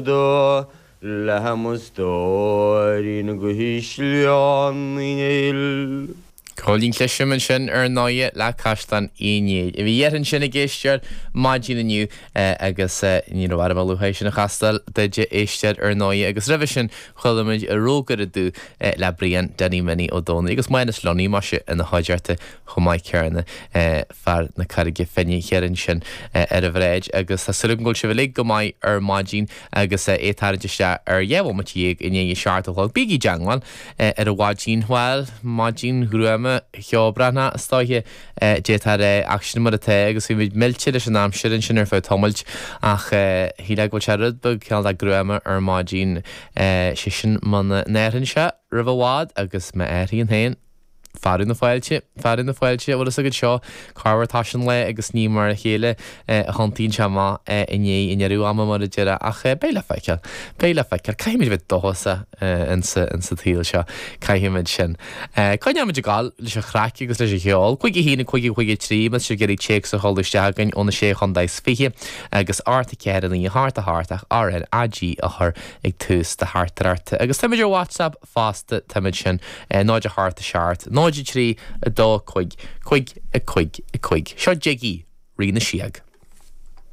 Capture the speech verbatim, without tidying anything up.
do le mo stóirín go hÍsleán Uí Néill. Cóilín Clisim ansin ar ndóighe le Caisleán Uí Néill. A bhí ar ansin ag éisteacht maidin inniu agus ní raibh orm a luaithe sin a chastáil duit a éisteoir ar ndóighe agus roimhe sin chuala muid Rógaire Dubh le Brian Danny Minnie Ó Dónaill agus Mánas Lunny maise ina chuideachta chomh maith céanna fear na Carraige Finne thiar ansin ar an bhráid agus tá súil agam go bhfuil sibh uilig go maith ar maidin agus é ag tarraingt isteach ar dhá bhomaite dhéag i ndiaidh a seacht a chlog. Bígí i dteangmháil ar an mhaidin bhuel, maidin ghruama cheobhránach is dóiche d'fhéadfá a rá ach sin mar atá agus bhí muid millte leis an aimsir ansin ar feadh tamaill ach shílfeá go bhfuil sé rud beag cineál de gruama ar maidin sé sin muna n-athraíonn sé roimh i bhfad agus má athraíonn féin fearadh na fáilte, fearadh na fáilte, bhfuil fhios agat seo, corruair tá sin lá agus ní mar a chéile a thiontaíonn sé amach i ndiaidh i ndeireadh ama mar a déarfá ach beidh le feiceáil, beidh le feiceáil, caithfimid a bheith dóchasach insa, insa tsaol seo, caithfimid sin. Coinneoimid ag gabháil leis an chraic agus leis an cheol, cúig a haon, cúig a cúig a trí, más sibh ag iarraidh téacs a sheoladh isteach chugainn ó na sé chontae is fiche agus ocht a ceathair a naoi a hocht a hocht ach R N A G a chur ag tús do theachtaireachta. Agus táimid ar WhatsApp fosta, táimid sin, náid a hocht a seacht, náid a trí, a dó, cúig, cúig, a cúig, a cúig. Seo Jiggy, Rí na Sióg.